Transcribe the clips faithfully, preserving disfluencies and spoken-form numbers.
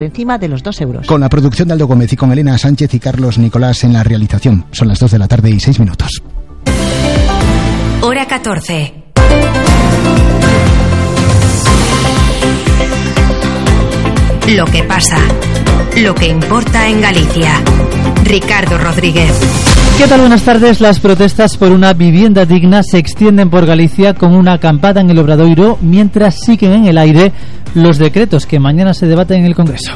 encima de los dos euros. Con la producción de Aldo Gómez y con Elena Sánchez y Carlos Nicolás en la realización. Son las dos de la tarde y seis minutos. Hora catorce. Lo que pasa, lo que importa en Galicia. Ricardo Rodríguez. ¿Qué tal? Buenas tardes. Las protestas por una vivienda digna se extienden por Galicia con una acampada en el Obradoiro, mientras siguen en el aire los decretos que mañana se debaten en el Congreso.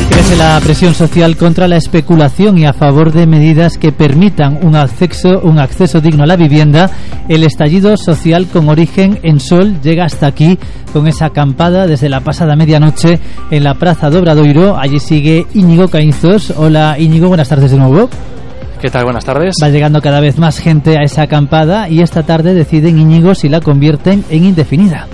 Crece la presión social contra la especulación y a favor de medidas que permitan un acceso, un acceso digno a la vivienda. El estallido social con origen en Sol llega hasta aquí con esa acampada desde la pasada medianoche en la Praza do Obradoiro. Allí sigue Íñigo Caínzos. Hola Íñigo, buenas tardes de nuevo. ¿Qué tal? Buenas tardes. Va llegando cada vez más gente a esa acampada y esta tarde deciden, Íñigo, si la convierten en indefinida.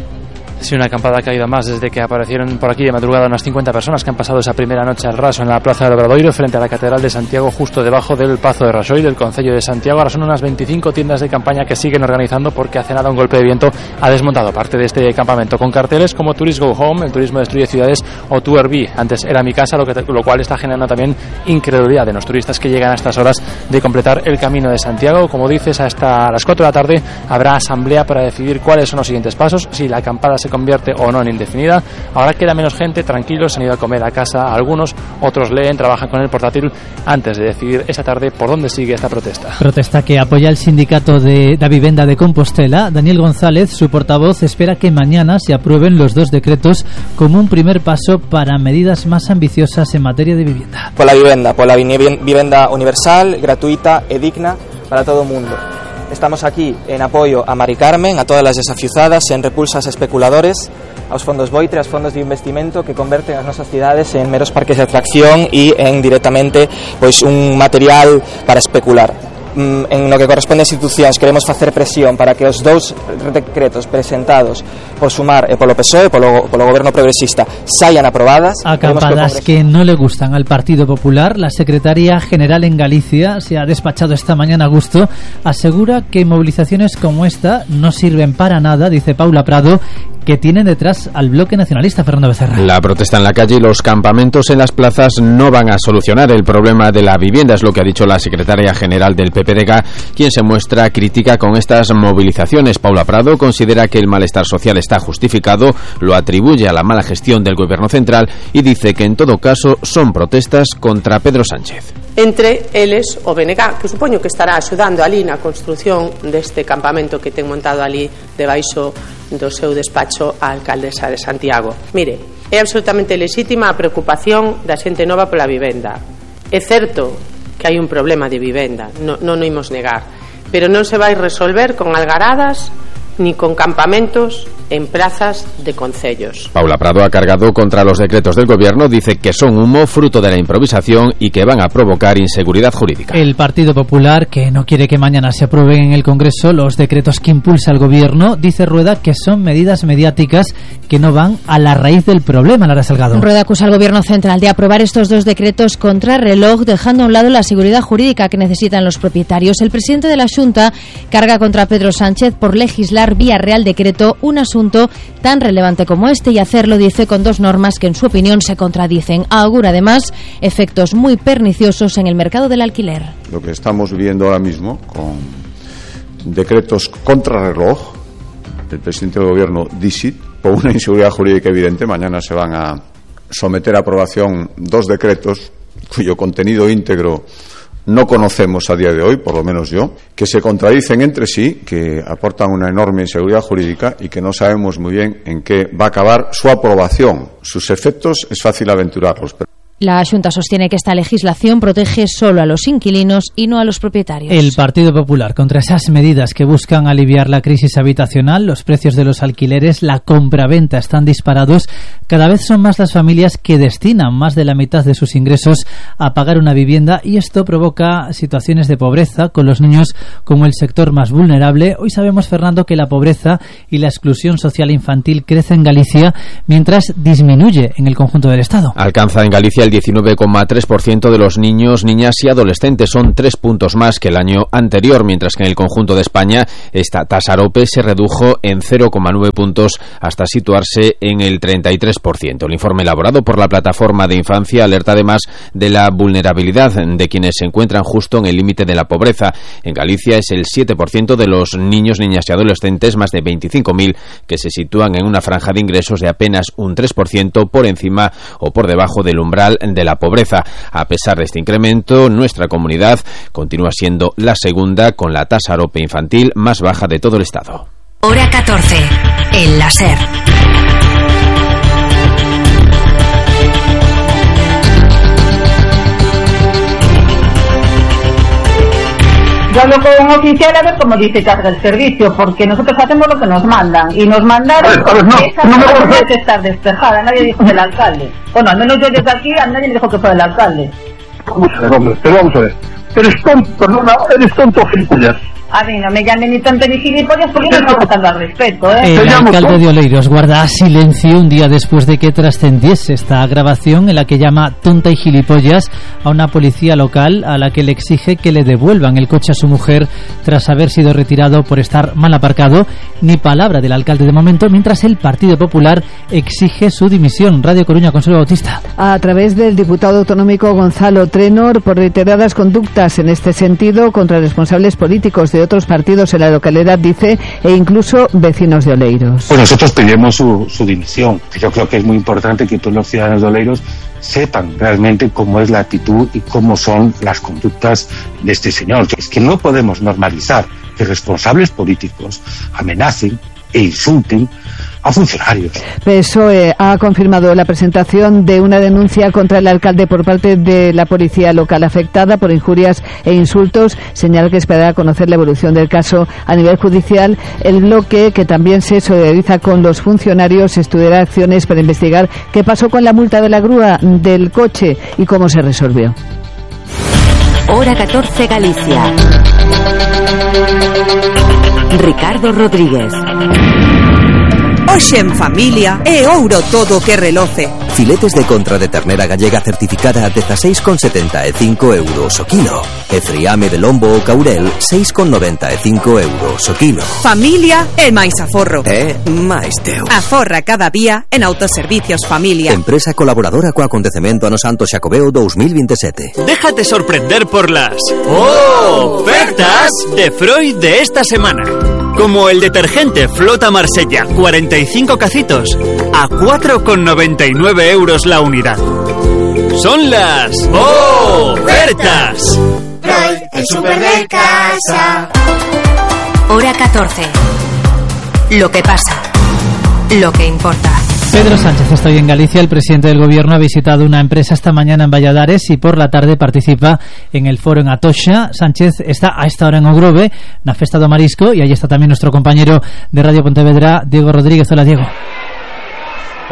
Sí, una acampada que ha ido más desde que aparecieron por aquí de madrugada unas cincuenta personas que han pasado esa primera noche al raso en la Plaza del Obradoiro frente a la Catedral de Santiago, justo debajo del Pazo de Raxoi del Concello de Santiago. Ahora son unas veinticinco tiendas de campaña que siguen organizando porque hace nada un golpe de viento ha desmontado parte de este campamento con carteles como Tourist Go Home, el turismo destruye ciudades, o To Airbnb, antes era mi casa, lo, que, lo cual está generando también incredulidad de los turistas que llegan a estas horas de completar el camino de Santiago. Como dices, hasta las cuatro de la tarde habrá asamblea para decidir cuáles son los siguientes pasos, si la acampada se convierte o no en indefinida. Ahora queda menos gente, tranquilos, han ido a comer a casa algunos, otros leen, trabajan con el portátil antes de decidir esta tarde por dónde sigue esta protesta. Protesta que apoya el sindicato de la vivienda de Compostela. Daniel González, su portavoz, espera que mañana se aprueben los dos decretos como un primer paso para medidas más ambiciosas en materia de vivienda. Por la vivienda, por la vivienda universal, gratuita e digna para todo o mundo. Estamos aquí en apoio a Mari Carmen, a todas as desafiuzadas e en repulsas a especuladores, aos fondos Boitre, aos fondos de investimento que converten as nosas cidades en meros parques de atracción e en directamente pois un material para especular. En lo que corresponde a institucións queremos facer presión para que os dous decretos presentados por Sumar e polo P S O E, polo, polo Goberno Progresista, saian aprobadas. Acampadas que, que no le gustan al Partido Popular. La secretaria general en Galicia se ha despachado esta mañana a gusto. Asegura que movilizaciones como esta no sirven para nada, dice Paula Prado, que tienen detrás al bloque nacionalista. Fernando Becerra. La protesta en la calle y los campamentos en las plazas no van a solucionar el problema de la vivienda, es lo que ha dicho la secretaria general del P P D G, quien se muestra crítica con estas movilizaciones. Paula Prado considera que el malestar social está justificado, lo atribuye a la mala gestión del gobierno central y dice que en todo caso son protestas contra Pedro Sánchez. Entre eles o B N G, que supoño que estará axudando ali na construción deste campamento que ten montado ali debaixo do seu despacho a alcaldesa de Santiago. Mire, é absolutamente lexítima a preocupación da xente nova pola vivenda. É certo que hai un problema de vivenda, non, non o imos negar, pero non se vai resolver con algaradas ni con campamentos en plazas de concellos. Paula Prado ha cargado contra los decretos del gobierno, dice que son humo fruto de la improvisación y que van a provocar inseguridad jurídica. El Partido Popular, que no quiere que mañana se aprueben en el Congreso los decretos que impulsa el gobierno, dice Rueda que son medidas mediáticas que no van a la raíz del problema. Lara Salgado. Rueda acusa al gobierno central de aprobar estos dos decretos contra reloj, dejando a un lado la seguridad jurídica que necesitan los propietarios. El presidente de la Xunta carga contra Pedro Sánchez por legislar vía Real Decreto un asunto tan relevante como este y hacerlo, dice, con dos normas que en su opinión se contradicen. Augura además efectos muy perniciosos en el mercado del alquiler. Lo que estamos viviendo ahora mismo con decretos contrarreloj del presidente del gobierno Dixit, por una inseguridad jurídica evidente, mañana se van a someter a aprobación dos decretos cuyo contenido íntegro no conocemos a día de hoy, por lo menos yo, que se contradicen entre sí, que aportan una enorme inseguridad jurídica y que no sabemos muy bien en qué va a acabar su aprobación. Sus efectos es fácil aventurarlos. Pero La Xunta sostiene que esta legislación protege solo a los inquilinos y no a los propietarios. El Partido Popular, contra esas medidas que buscan aliviar la crisis habitacional, los precios de los alquileres, la compraventa están disparados. Cada vez son más las familias que destinan más de la mitad de sus ingresos a pagar una vivienda y esto provoca situaciones de pobreza con los niños como el sector más vulnerable. Hoy sabemos, Fernando, que la pobreza y la exclusión social infantil crece en Galicia mientras disminuye en el conjunto del Estado. Alcanza en Galicia el diecinueve coma tres por ciento de los niños, niñas y adolescentes. Son tres puntos más que el año anterior, mientras que en el conjunto de España esta tasa AROPE se redujo en cero coma nueve puntos hasta situarse en el treinta y tres por ciento. El informe elaborado por la Plataforma de Infancia alerta además de la vulnerabilidad de quienes se encuentran justo en el límite de la pobreza. En Galicia es el siete por ciento de los niños, niñas y adolescentes, más de veinticinco mil, que se sitúan en una franja de ingresos de apenas un tres por ciento por encima o por debajo del umbral de la pobreza. A pesar de este incremento, nuestra comunidad continúa siendo la segunda con la tasa AROPE infantil más baja de todo el Estado. Hora catorce, el láser. Yo hablo con un oficial a ver cómo dice carga el servicio, porque nosotros hacemos lo que nos mandan, y nos mandaron a ver, no, que esa no, no, no puede estar despejada. Nadie dijo del alcalde. Bueno, al menos yo desde aquí a nadie me dijo que fue del alcalde. Vamos a ver, hombre, pero vamos a ver. Eres tonto, perdona, eres tonto, gilipollas. A mí no me llamen ni tonto ni gilipollas porque yo no estoy faltando al respeto, ¿eh? El alcalde de Oleiros guarda silencio un día después de que trascendiese esta grabación en la que llama tonta y gilipollas a una policía local a la que le exige que le devuelvan el coche a su mujer tras haber sido retirado por estar mal aparcado. Ni palabra del alcalde de momento, mientras el Partido Popular exige su dimisión. Radio Coruña, Consuelo Bautista. A través del diputado autonómico Gonzalo Trenor, por reiteradas conductas en este sentido contra responsables políticos de otros partidos en la localidad, dice, e incluso vecinos de Oleiros. Pues nosotros pedimos su, su dimisión. Yo creo que es muy importante que todos los ciudadanos de Oleiros sepan realmente cómo es la actitud y cómo son las conductas de este señor. Es que no podemos normalizar que responsables políticos amenacen e insulten a funcionarios. P S O E ha confirmado la presentación de una denuncia contra el alcalde por parte de la policía local afectada por injurias e insultos. Señala que esperará conocer la evolución del caso a nivel judicial. El bloque, que también se solidariza con los funcionarios, estudiará acciones para investigar qué pasó con la multa de la grúa del coche y cómo se resolvió. Hora catorce, Galicia. Ricardo Rodríguez. Hoxe en familia é ouro todo que reloce. Filetes de contra de ternera gallega certificada a dezasseis con setenta e cinco euros o kilo. E friame de lombo ou caurel seis con noventa e cinco euros o kilo. Familia é máis aforro. É máis teu. Aforra cada día en Autoservicios Familia. Empresa colaboradora co acontecemento Ano Santo Xacobeo dos mil veintisiete. Déjate sorprender por las ¡oh! Ofertas de Freud de esta semana. Como el detergente Flota Marsella, cuarenta y cinco cacitos a cuatro con noventa y nueve euros la unidad. Son las ofertas. Freud, el súper de casa. Hora catorce. Lo que pasa. Lo que importa. Pedro Sánchez está hoy en Galicia. El presidente del Gobierno ha visitado una empresa esta mañana en Valladares y por la tarde participa en el foro en Atocha. Sánchez está a esta hora en Ogrove, na Festa do Marisco, y ahí está también nuestro compañero de Radio Pontevedra, Diego Rodríguez. Hola, Diego.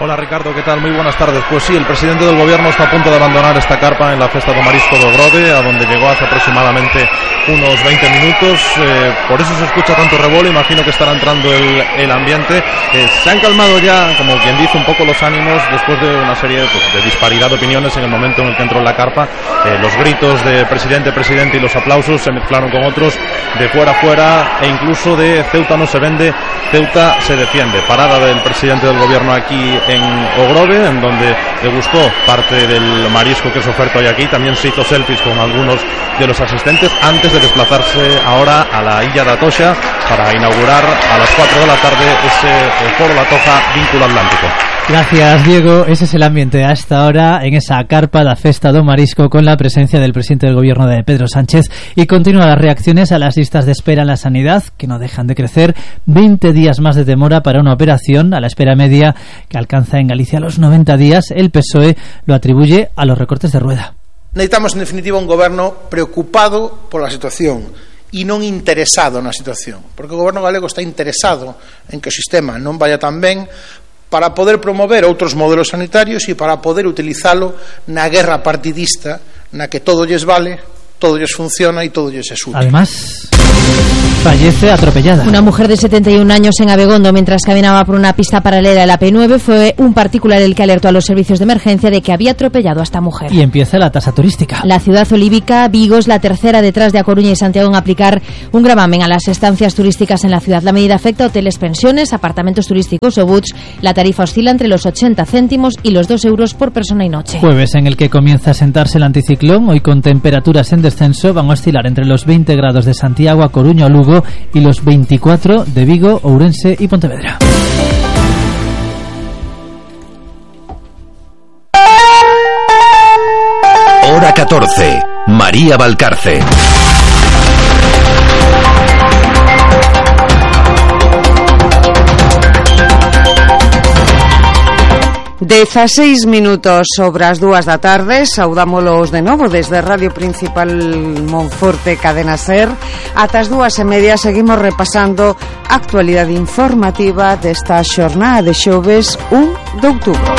Hola Ricardo, ¿qué tal? Muy buenas tardes. Pues sí, el presidente del Gobierno está a punto de abandonar esta carpa en la Festa do Marisco de Ogrove, a donde llegó hace aproximadamente unos veinte minutos. Eh, por eso se escucha tanto revuelo, imagino que estará entrando el, el ambiente. Eh, se han calmado ya, como quien dice, un poco los ánimos después de una serie pues, de disparidad de opiniones en el momento en el que entró en la carpa. Eh, los gritos de presidente, presidente y los aplausos se mezclaron con otros de fuera a fuera e incluso de Ceuta no se vende, Ceuta se defiende. Parada del presidente del Gobierno aquí en Ogrove, en donde le gustó parte del marisco que se oferta hoy aquí. También se hizo selfies con algunos de los asistentes antes de desplazarse ahora a la Illa de Atocha para inaugurar a las cuatro de la tarde ese foro La Toja Vínculo Atlántico. Gracias, Diego. Ese es el ambiente a esta hora en esa carpa da Festa do Marisco, con la presencia del presidente del Gobierno, de Pedro Sánchez, y continúan las reacciones a las listas de espera en la sanidad, que no dejan de crecer. veinte días más de demora para una operación, a la espera media que alcanza en Galicia los noventa días. El P S O E lo atribuye a los recortes de Rueda. Necesitamos, en definitiva, un goberno preocupado por la situación e non interesado na situación, porque o goberno galego está interesado en que o sistema non vaya tan ben para poder promover outros modelos sanitarios e para poder utilizalo na guerra partidista na que todo lles vale, todo lles funciona e todo lles é útil. Además... fallece atropellada. Una mujer de setenta y un años en Abegondo, mientras caminaba por una pista paralela a la P nueve, fue un particular el que alertó a los servicios de emergencia de que había atropellado a esta mujer. Y empieza la tasa turística. La ciudad olívica, Vigo, es la tercera detrás de A Coruña y Santiago en aplicar un gravamen a las estancias turísticas en la ciudad. La medida afecta a hoteles, pensiones, apartamentos turísticos o butts. La tarifa oscila entre los ochenta céntimos y los dos euros por persona y noche. Jueves en el que comienza a sentarse el anticiclón, hoy con temperaturas en descenso, van a oscilar entre los veinte grados de Santiago, A Coruña o Lugo y los veinticuatro de Vigo, Ourense y Pontevedra. Hora catorce. María Valcarce. dezaseis minutos sobre as dúas da tarde. Saudámolos de novo desde Radio Principal Monforte, Cadena Ser. Ata as dúas e media seguimos repasando a actualidade informativa desta xornada de xoves un de outubro.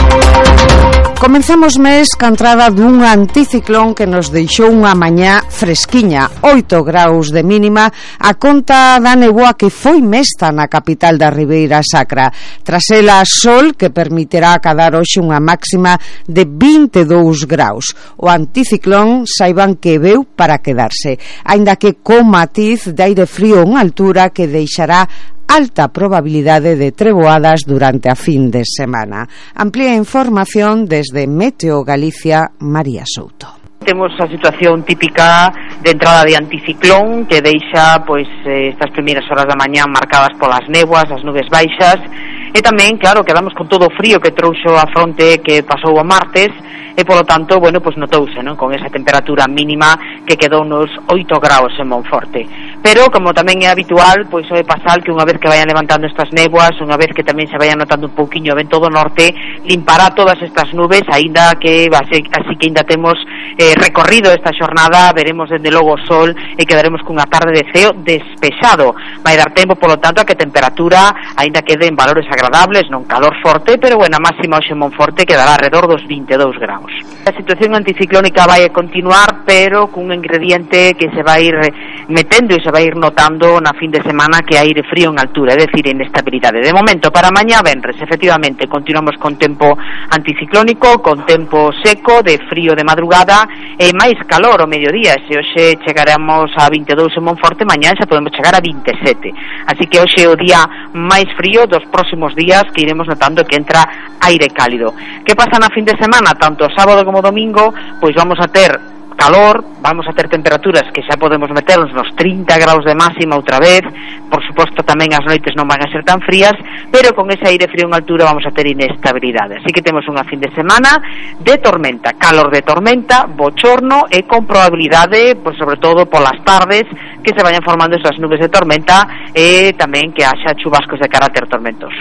Comenzamos mes ca entrada dun anticiclón que nos deixou unha mañá fresquiña, oito graus de mínima, a conta da neboa que foi mesta na capital da Ribeira Sacra. Tras ela, sol que permitirá acadar hoxe unha máxima de vinte e dous graus. O anticiclón saiban que veu para quedarse, aínda que co matiz de aire frío en altura que deixará alta probabilidade de treboadas durante a fin de semana. Amplía información desde Meteo Galicia, María Souto. Temos a situación típica de entrada de anticiclón que deixa pois estas primeiras horas da mañá marcadas polas néboas, as nubes baixas, e tamén, claro, quedamos con todo o frío que trouxo a fronte que pasou o martes, e polo tanto, bueno, pois notouse, non, con esa temperatura mínima que quedou nos oito graus en Monforte. Pero, como tamén é habitual, pois é pasar que unha vez que vayan levantando estas néboas, unha vez que tamén se vayan notando un pouquiño o vento do norte, limpará todas estas nubes, aínda que así, así que ainda temos eh, recorrido esta xornada, veremos dende logo o sol e quedaremos cunha tarde de ceo despexado. Vai dar tempo, polo tanto, a que a temperatura aínda quede en valores agradables, non calor forte, pero bueno, a máxima hoxe en Monforte quedará alrededor dos vinte e dous graus. A situación anticiclónica vai a continuar, pero cun ingrediente que se vai ir metendo e se vai ir notando na fin de semana, que aire frío en altura, é dicir, inestabilidade. De momento, para mañá venres, efectivamente, continuamos con tempo anticiclónico, con tempo seco, de frío de madrugada e máis calor o mediodía. Se hoxe chegaremos a vinte e dous en Monforte, mañá xa podemos chegar a vinte e sete. Así que hoxe é o día máis frío dos próximos días, que iremos notando que entra aire cálido. Que pasa na fin de semana? Tanto sábado como domingo, pois vamos a ter calor, vamos a ter temperaturas que xa podemos meternos nos trinta graus de máxima outra vez. Por suposto, tamén as noites non van a ser tan frías, pero con ese aire frío en altura vamos a ter inestabilidade. Así que temos unha fin de semana de tormenta, calor de tormenta, bochorno e con probabilidade, pois sobre todo polas tardes, que se vayan formando esas nubes de tormenta e tamén que haxa chubascos de carácter tormentoso.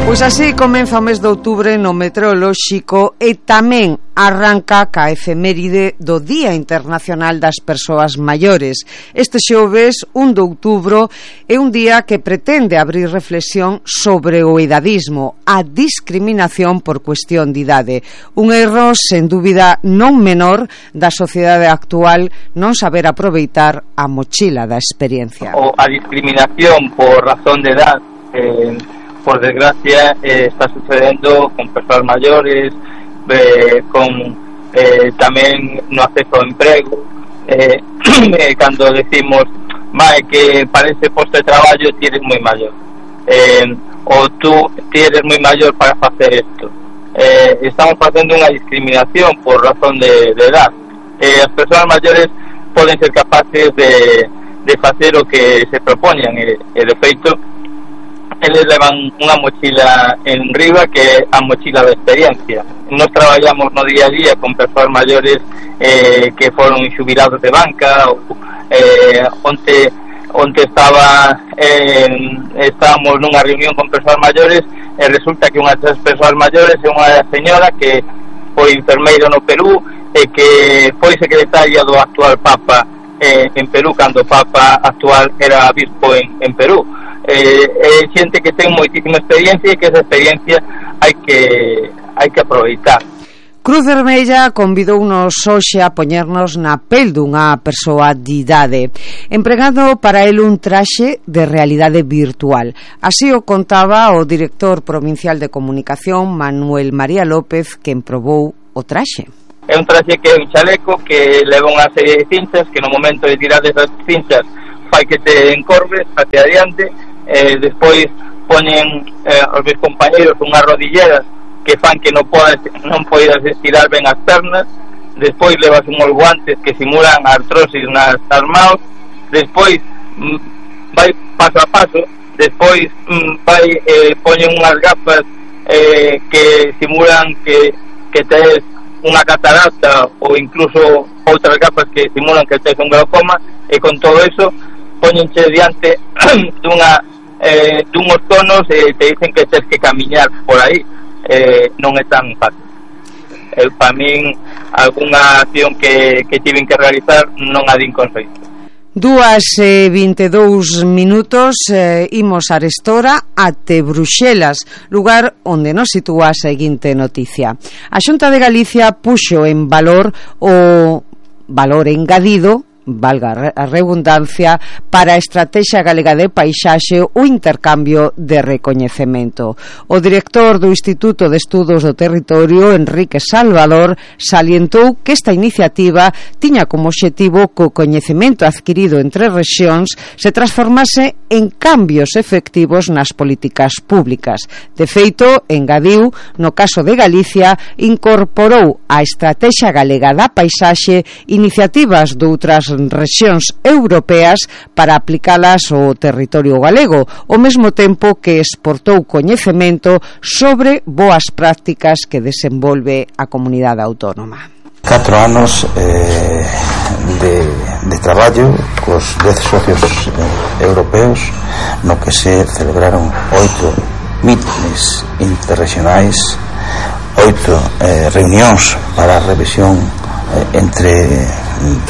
Pois así comeza o mes de outubro no meteorolóxico e tamén arranca ca efeméride do Día Internacional das Persoas Maiores. Este xoves, un de outubro, é un día que pretende abrir reflexión sobre o edadismo, a discriminación por cuestión de idade. Un erro, sen dúbida, non menor da sociedade actual non saber aproveitar a mochila da experiencia. O a discriminación por razón de edad, eh, por desgracia, eh, está sucedendo con persoas maiores, eh, con eh, tamén no acceso ao emprego, eh, eh, cando decimos vai que para ese posto de traballo ti eres moi maior, eh, ou tú ti eres moi maior para facer isto. Eh, estamos facendo unha discriminación por razón de, de edad. Eh, as persoas maiores poden ser capaces de, de facer o que se propoñan, e, e de feito eles levan unha mochila en riba que é a mochila da experiencia. Nos traballamos no día a día con persoas maiores eh, que foron xubilados de banca, ou, eh, onde, onde estaba eh, estábamos nunha reunión con persoas maiores e resulta que unha das persoas maiores é unha señora que foi enfermeira no Perú e que foi secretaria do actual Papa eh, en Perú, cando o Papa actual era bispo en, en Perú. Eh, é xente que ten moitísima experiencia e que esa experiencia hai que hai que aproveitar. Cruz Vermella convidounos hoxe a poñernos na pel dunha persoa de idade, empregando para el un traxe de realidade virtual. Así o contaba o director provincial de comunicación, Manuel María López, quen probou o traxe. É un traxe que é un chaleco que leva unha serie de cinchas que no momento de tirar desas cinchas fai que te encorves hacia adiante, eh, despois poñen eh, os meus compañeros unhas rodilleras que fan que non podas, non podas estirar ben as pernas, despois levas unhos guantes que simulan a artrosis nas as maus, despois mm, vai paso a paso, despois mm, vai eh, poñen unhas gafas eh, que simulan que, que tes unha catarata ou incluso outras gafas que simulan que tes un glaucoma, e con todo eso poñenche diante dunha eh, dunhos tonos e te dicen que tes que camiñar por aí. Eh, non é tan fácil. Eh, para min, algunha acción que, que tiven que realizar non a din con feito. Dúas e vinte e dous minutos, eh, imos a Arestora até Bruxelas, lugar onde nos sitúa a seguinte noticia. A Xunta de Galicia puxo en valor o valor engadido, valga a redundancia, para a Estrategia Galega de Paisaxe o intercambio de recoñecemento. O director do Instituto de Estudos do Territorio, Enrique Salvador, salientou que esta iniciativa tiña como obxectivo que o coñecemento adquirido entre rexións se transformase en cambios efectivos nas políticas públicas. De feito, engadiu, no caso de Galicia, incorporou a Estrategia Galega da Paisaxe iniciativas doutras rexións europeas para aplicalas ao territorio galego, ao mesmo tempo que exportou coñecemento sobre boas prácticas que desenvolve a comunidade autónoma. Catro anos eh, de, de traballo cos dez socios eh, europeos, no que se celebraron oito mítines interregionais, oito eh, reunións para a revisión eh, entre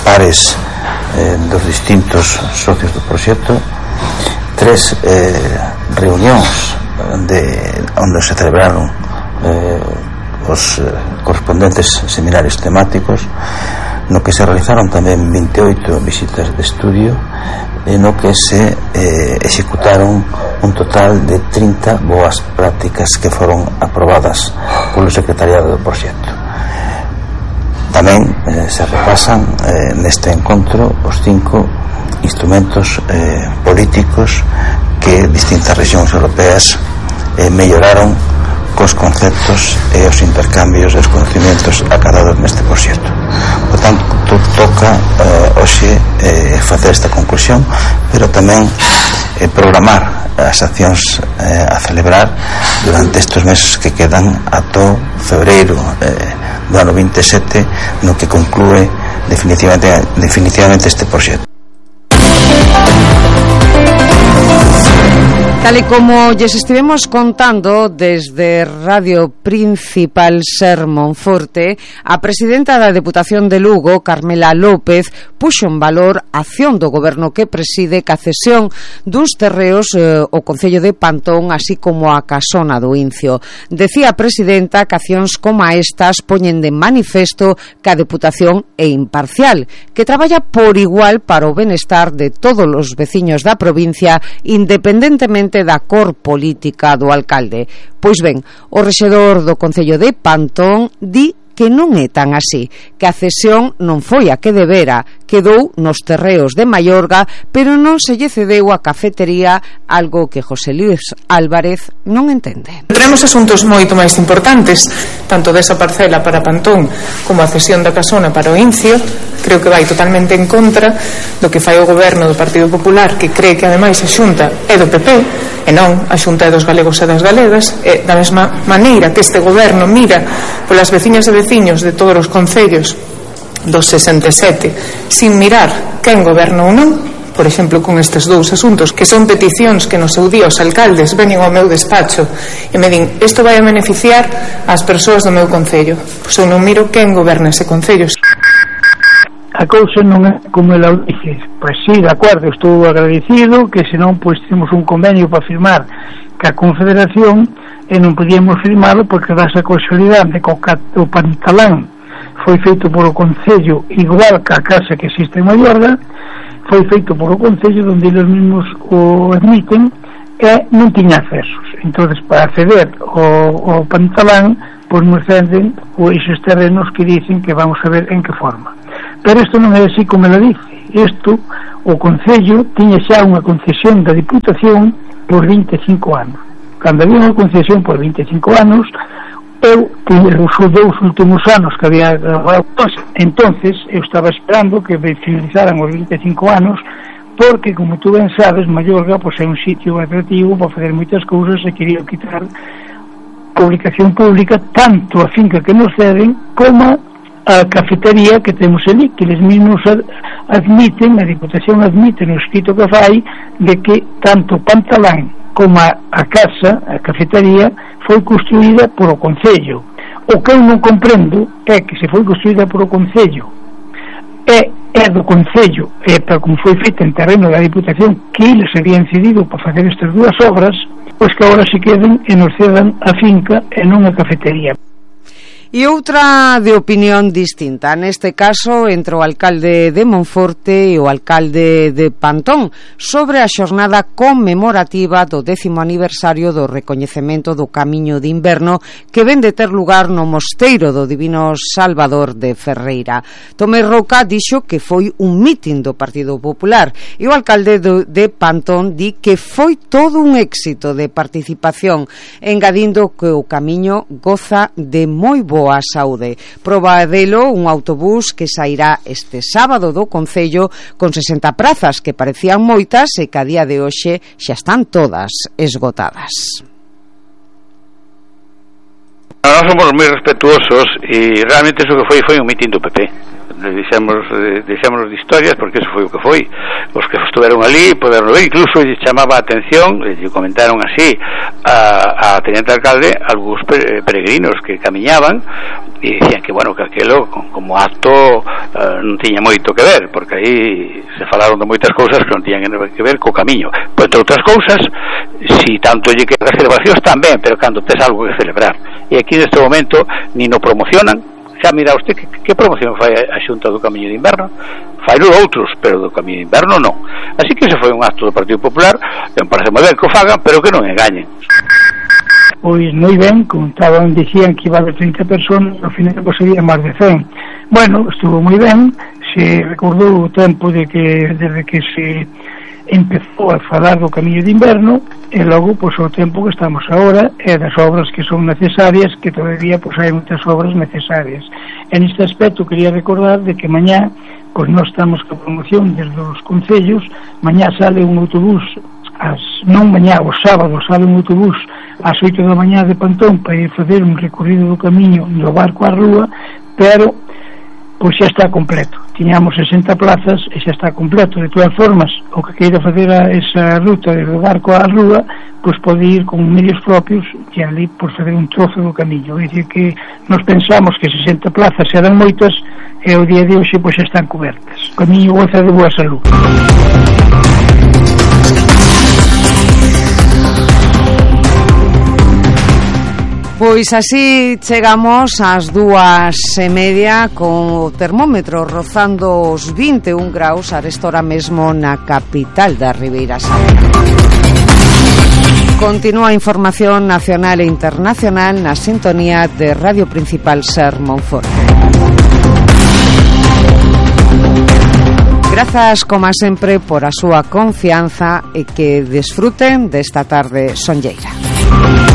pares eh, dos distintos socios do proxecto, tres eh, reunións de, onde se celebraron eh, os eh, correspondentes seminarios temáticos, no que se realizaron tamén vinte e oito visitas de estudio, e no que se eh, executaron un total de trinta boas prácticas que foron aprobadas polo secretariado do proxecto. Tamén eh, se repasan eh, neste encontro os cinco instrumentos eh, políticos que distintas rexións europeas eh, melloraron cos conceptos e os intercambios e os conhecimentos acadados neste proxecto. Por tanto, toca eh, hoxe eh, facer esta conclusión, pero tamén eh, programar as accións eh, a celebrar durante estes meses que quedan ata febreiro eh, do ano vinte e sete, no que conclúe definitivamente, definitivamente este proxecto. Tal e como lles estivemos contando desde Radio Principal Ser Monforte, a presidenta da Deputación de Lugo, Carmela López, puxo en valor a acción do goberno que preside ca cesión duns terreos eh, o Concello de Pantón, así como a Casona do Incio. Decía a presidenta que accións como estas poñen de manifesto que a Deputación é imparcial, que traballa por igual para o benestar de todos os veciños da provincia, independentemente da cor política do alcalde. Pois ben, o rexedor do Concello de Pantón di que non é tan así, que a cesión non foi a que debera, quedou nos terreos de Maiorga, pero non se lle cedeu a cafetería, algo que José Luis Álvarez non entende. Tenemos asuntos moito máis importantes, tanto desa parcela para Pantón como a cesión da Casona para o Incio. Creo que vai totalmente en contra do que fai o goberno do Partido Popular, que cree que ademais a Xunta é do P P e non a Xunta é dos galegos e das galegas, e da mesma maneira que este goberno mira polas veciñas e veciños de todos os concellos dos sesenta e sete sin mirar quen goberna ou non. Por exemplo, con estes dous asuntos, que son peticións que no seu día os alcaldes veñen ao meu despacho e me din, isto vai a beneficiar as persoas do meu concello. Pois eu non miro quen goberna ese concello. A cousa non é como ela dice. Pois sí, de acordo, estou agradecido que senón pois temos un convenio para firmar ca Confederación e non podíamos firmalo porque dá esa casualidade de que o Pantalán foi feito por o Concello igual que a casa que existe en Mallorca, foi feito por o Concello onde eles mesmos o admiten e non tiña accesos. Entonces, para acceder ao, ao Pantalán, pois nos ceden esos terrenos que dicen que vamos a ver en que forma. Pero isto non é así como ela dice. Isto, o Concello tiña xa unha concesión da Diputación por vinte e cinco anos. Cando había unha concesión por vinte e cinco anos, eu tiña os dous últimos anos que había entonces eu estaba esperando que finalizaran os vinte e cinco anos, porque, como tú ben sabes, Mallorca pois, é un sitio atractivo para fazer moitas cousas e quería quitar publicación pública tanto a finca que nos ceden como a cafetería que temos ali, que eles mesmos admiten, a Diputación admite no escrito que fai de que tanto Pantalán como a, a casa, a cafetería foi construída por o Concello. O que eu non comprendo é que se foi construída por o Concello é, é do Concello, é para como foi feita en terreno da Diputación, que eles habían cedido para facer estas dúas obras, pois que agora se queden e nos cedan a finca e non a cafetería. E outra de opinión distinta, neste caso entre o alcalde de Monforte e o alcalde de Pantón, sobre a xornada conmemorativa do décimo aniversario do recoñecemento do Camiño de Inverno que ven de ter lugar no Mosteiro do Divino Salvador de Ferreira. Tomé Roca dixo que foi un mitin do Partido Popular e o alcalde do, de Pantón di que foi todo un éxito de participación, engadindo que o camiño goza de moi boa a saúde. Proba delo un autobús que sairá este sábado do Concello con sesenta prazas que parecían moitas e que a día de hoxe xa están todas esgotadas. Nós somos moi respetuosos e realmente iso que foi foi un mitin do P P. Deixamos, deixamos de historias porque eso foi o que foi. Os que estuveron ali poderon ver, incluso lle chamaba a atención, lle comentaron así a, a teniente alcalde algúns peregrinos que camiñaban e dicían que bueno, que aquelo como acto uh, non tiña moito que ver, porque aí se falaron de moitas cousas que non tiñan que ver co camiño. Pois entre outras cousas, si tanto lle que as celebracións tamén, pero cando tes algo que celebrar. E aquí neste momento ni no promocionan. Xa mira usted que, que promoción fai a Xunta do Camiño de Inverno, faino outros, pero do Camiño de Inverno non. Así que ese foi un acto do Partido Popular, que me parece moi ben que o fagan, pero que non engañen. Pois moi ben, contaban, dicían que iba de trinta personas, ao final pues, sería máis de cen. Bueno, estuvo moi ben, se recordou o tempo de que desde que se empezou a falar do Camiño de Inverno e logo, pois, o tempo que estamos agora e das obras que son necesarias, que todavía, pois, hai moitas obras necesarias. En este aspecto quería recordar de que mañá, pois, nós estamos con promoción desde os concellos, mañá sale un autobús as, non mañá, o sábado sale un autobús ás oito da mañá de Pantón para ir fazer un recorrido do camiño do barco á rúa, pero pois xa está completo. Tiñamos sesenta plazas e xa está completo. De todas formas, o que queira fazer a esa ruta desde o barco á rúa, pois pode ir con medios propios e ali por fazer un trozo do camiño. É dicir que nos pensamos que sesenta plazas eran moitas e o día de hoxe pois xa están cobertas. O camiño goza de boa salud. Pois así chegamos ás dúas e media con o termómetro rozando os vinte e un graus a restora mesmo na capital da Ribeira Sacra. Continúa a información nacional e internacional na sintonía de Radio Principal Ser Monforte. Grazas, como sempre, por a súa confianza e que desfruten desta tarde sonlleira.